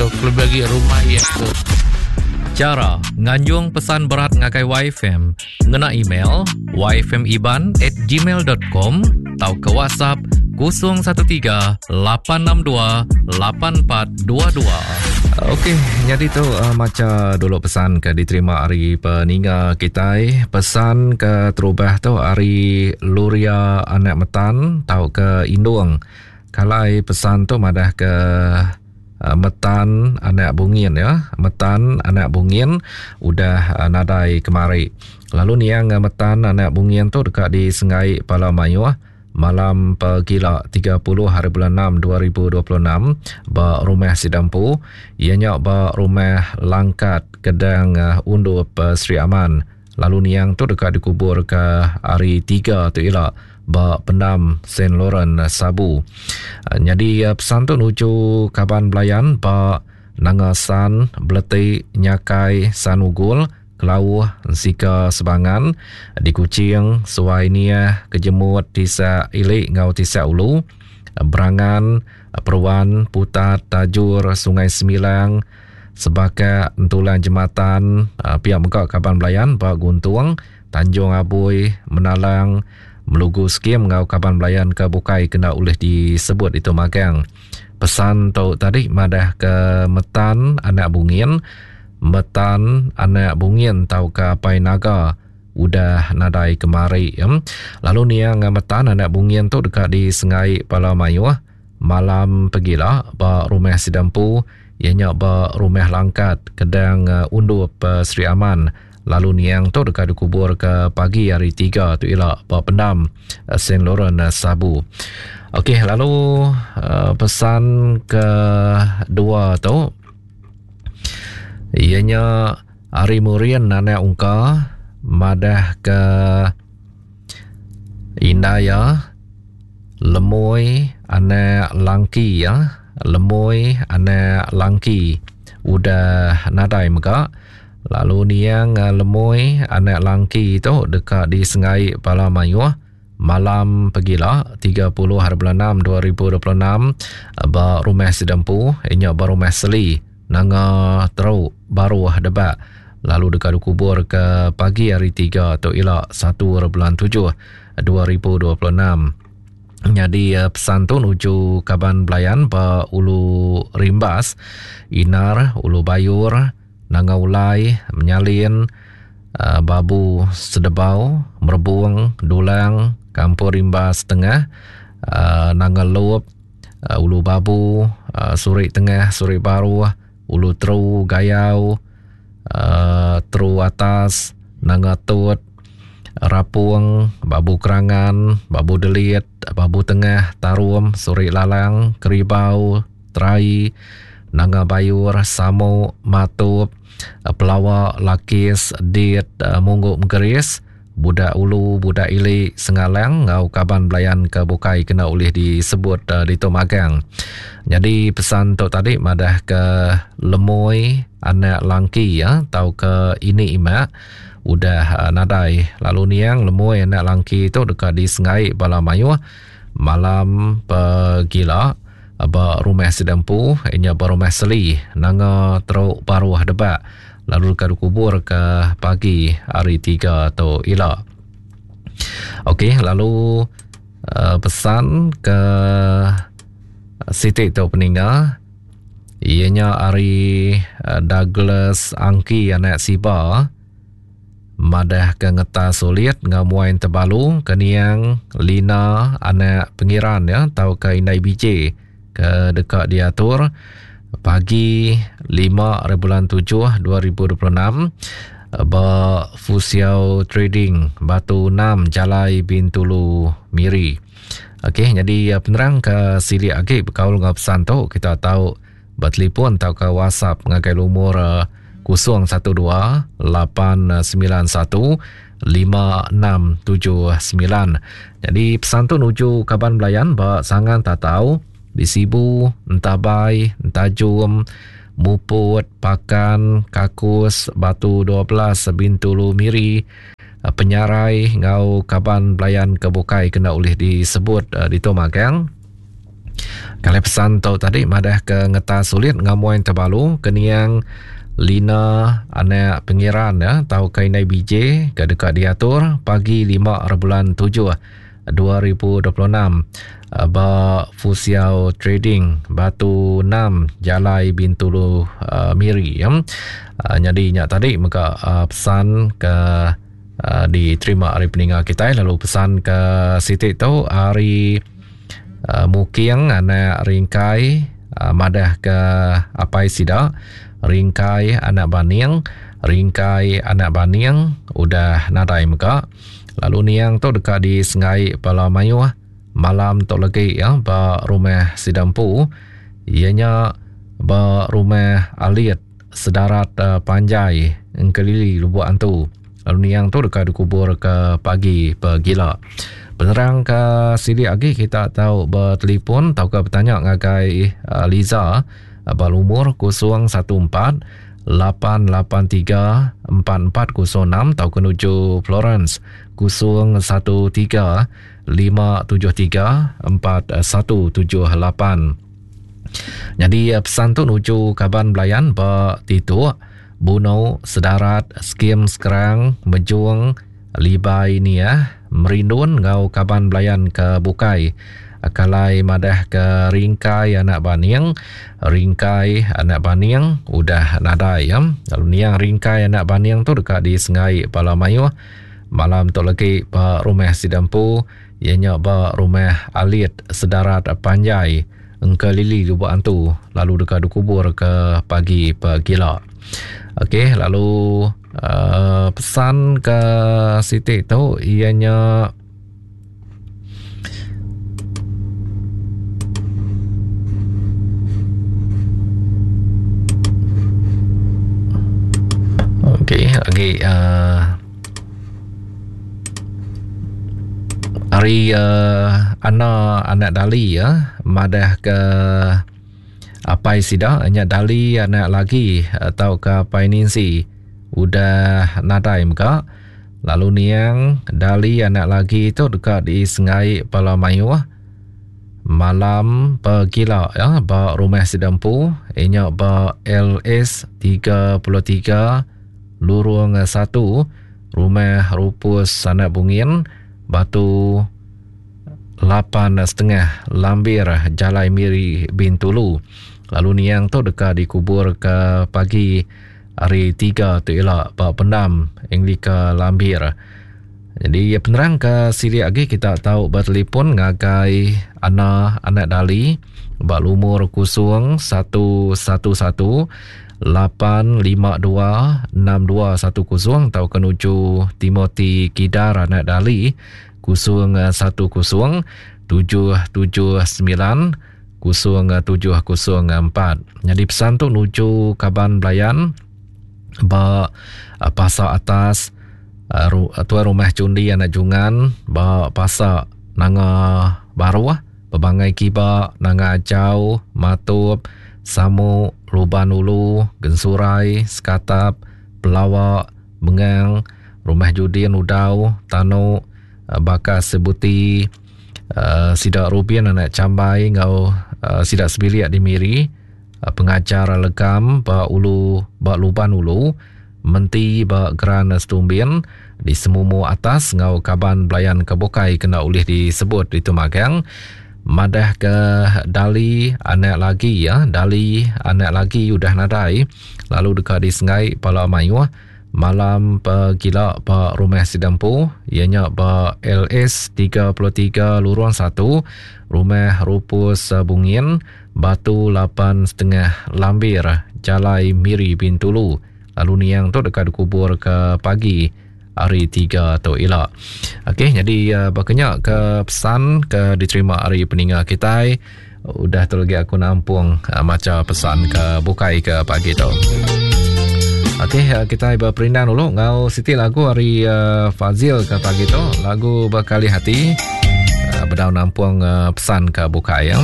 tu kelebih agi rumah iya tu. Chara nganjung pesan berat ngagai YFM ngena email yfmiban at gmail dot com tauka WhatsApp 013 862 8422. Okey, nyadi tu uh, macha dulu pesan ke diterima ari peninga kitai. Pesan ke terubah tu ari Luria Anak Metan tauka Indung. Kalai pesan tu madah ke uh, Metan Anak Bungin ya. Metan Anak Bungin udah uh, nadai kemari. Lalu niang Metan Anak Bungin tu deka disenggai pala mayuh malam pegila 30 hari bulan 6 2026 ba rumah sida empu iya nya ba rumah Langkat Kedang eh, Undup eh, Sri Aman lalu niang tu deka dikubur ke hari 3 tu ila ba pendam Saint Laurent eh, Sabu. Nyadi pesan tu nuju kaban belayan ba Nanga San, Beleti, Nyakai, San Ugul, Kelauh, Ensika Sebangan, di Kuching, Suai Niah, Kejemut, Tisak Ili enggau Tisak Ulu, Berangan, Peruan, Putat, Tajur, Sungai Semilang, Sebakak, Entulang Jematan, pia mega kaban belayan ba Guntung, Tanjung Abui, Menalang, Melugu Skim enggau kaban belayan ke bukai kena ulih disebut ditu magang. Pesan tu tadi madah ke Metan anak Bungin, Metan anak Bungin tauka Apai Naga udah nadai kemari. Lalu niang Metan anak Bungin tu deka disengai bala mayuh malam pegila ba rumah sida empu iya nya ba Rumah Langkat Kedang Undup Sri Aman. Lalu niang tu deka dikubur ke pagi hari 3 tu ila ba pendam Saint Laurent Sabu. Okey, lalu uh, pesan ke dua tu iya nya ari Murin anak Ungka madah ke indai iya Lemoi anak Langki ya Lemoi anak Langki udah nadai mega. Lalu niang Lemoi anak Langki tu deka disengai bala mayuh malam pegila 30 hari bulan 6 2026 ba rumah sida empu iya nya ba rumah Seli Nanga Teruk Baruh Debak lalu deka dikubur ke pagi hari 3 tu ila 1 hari bulan 7 2026. Nyadi pesan tu nuju kaban belayan ba Ulu Rimbas, Inar, Ulu Bayur, Nanga Ulai, Menyalin, Babu Sedebau, Merebung, Dulang, Kampung Rimbas Tengah, Nanga Lup, Ulu Babu, Surik Tengah, Surik Baruh, Ulu Teru, Gayau, Teru Atas, Nanga Tut, Rapung, Babu Kerangan, Babu Delit, Babu Tengah, Tarum, Surik Lalang, Keribau, Terai, Nanga Bayur, Samu, Matup, Pelawa, Lakis, Dit, Munggu Mengkeris, Budak Ulu, Budak Ili, Sengalang enggau kaban belayan ke bukai kena ulih disebut ditu magang. Nyadi pesan tu tadi madah ke Lemoi anak Langki ya tauka ini imak udah nadai lalu niang Lemoi anak Langki tu deka disengai bala mayuh malam pegila ba rumah sida empu iya nya ba rumah Seli Nanga Teruk Baruh Debak lalu deka dikubur ke pagi hari 3 tu ila. Okey lalu uh, pesan ke siti tu peninga iya nya ari uh, Douglas Angki anak Siba Madah ke ngetas ulit enggau muai entebalu ke niang Lina anak Pengiran ya tauka indai BJ ke deka diatur pagi 5 hari bulan 7 2026 ba Fusiau Trading Batu 6 Jalai Bintulu Miri. Okey, nyadi eh, penerang ke silik agi bekaul enggau pesan tu kita tau Betelefon tauka WhatsApp ngagai lumur 012 891 5679. Jadi pesan tu nuju kaban belayan ba Sangan Tatau di Sibu, Entabai, Entajum, Muput, Pakan, Kakus, Batu 12, Bintulu, Miri, Penyarai enggau kaban belayan ke bukai kena ulih disebut ditu magang. Kali pesan tu tadi madah ke ngetas sulit ngamuai tebalu ke niang Lina anak Pengiran ya tau ke indai BJ ke deka diatur pagi 5 bulan 7 2026 ba Fusiao Trading Batu 6 Jalai Bintulu uh, Miri ya. Uh, jadi nya tadi mega uh, pesan ke uh, diterima ari peninga kitai lalu pesan ke siti tu ari uh, Muking anak Ringkai uh, madah ke apai sida Ringkai anak Baning Ringkai anak Baning udah nadai mega lalu niang tu deka disengai bala mayuh malam tu legi ya ba rumah sida empu iya nya ba rumah Alit Sedarat uh, Panjai Engkelili Lubuk Antu. Lalu niang tu deka dikubur ke pagi pegila. Penerang ke silik agi kita tau bertelefon tauka bertanya ngagai uh, Liza uh, ba lumur 014 883 4406 tauka nuju Florence 013 573 4178. Nyadi pesan tu nuju kaban belayan ba Tituk, Buno, Sedarat, Skim Skrang, Mejung, Libai Niah, Merindun enggau kaban belayan ke bukai. Kalai madah ke Ringkai anak Baning, Ringkai anak Baning udah nadai ya. Lalu niang Ringkai anak Baning tu deka disengai bala mayuh malam tu lagi ba rumah sida empu iya nya ba Rumah Alit Sedarat Panjai Engkelili Lubok Antu lalu deka dikubur ke pagi pegila. Okey lalu uh, pesan ke siti tu iya nya Okey, lagi uh, Ari uh, Ana anak Dali ya madah ke apai sida nya Dali anak lagi atau ke apai Ninsi udah nadai mega lalu niang Dali anak lagi tu deka disengai bala mayuh malam pegila ya ba rumah sida empu inya ba LS 33 Lurung 1 Rumah Rupus Anak Bungin, Batu 8.5 Lambir Jalai Miri Bintulu. Lalu niang tu deka dikubur ke pagi hari 3 tu ila ba pendam Anglika Lambir. Jadi penerang ke silik agi kita tau bertelefon ngagai Ana Anak Dali ba lumur 0111 852 6210 tauka nuju Timothy Kidar anak Dali 010 779 0704. Nyadi pesan tu nuju kaban belayan ba eh, pasar atas eh, tuai rumah Cundi anak Jungan ba pasar Nanga Baruh Bebangai Kiba, Nanga Ajau, Matup, Samu, Luban Ulu, Gensurai, Sekatap, Pelawa, Mengang, Rumah Judin Udau, Tanu, Bakas Sebuti, sida Rubin anak Chambai enggau sida sebilik di Miri, Pengajar Legam ba Ulu ba Luban Ulu, Menti ba Geran Setumbin di Semumu Atas enggau kaban belayan ke bukai kena ulih disebut ditu magang madah ke Dali anak lagi ya Dali anak lagi udah nadai lalu deka disengai pala mayuh malam pegila ba rumah sida empu iya nya ba LS 33 Lurung 1 Rumah Rupus Bungin Batu 8.5 Lambir Jalai Miri Bintulu lalu niang tu deka dikubur ke pagi hari 3 tu ila. Okey, jadi uh, baka nya ke pesan ke diterima ari peninga kitai. Udah tu lagi aku nampung uh, macha pesan ke bukai ke pagi tu. Okey, uh, kita berperindang dulu ngau siti lagu ari uh, Fazil ke pagi tu, lagu Berkali Hati. Uh, bedau nampung uh, pesan ke bukai ya.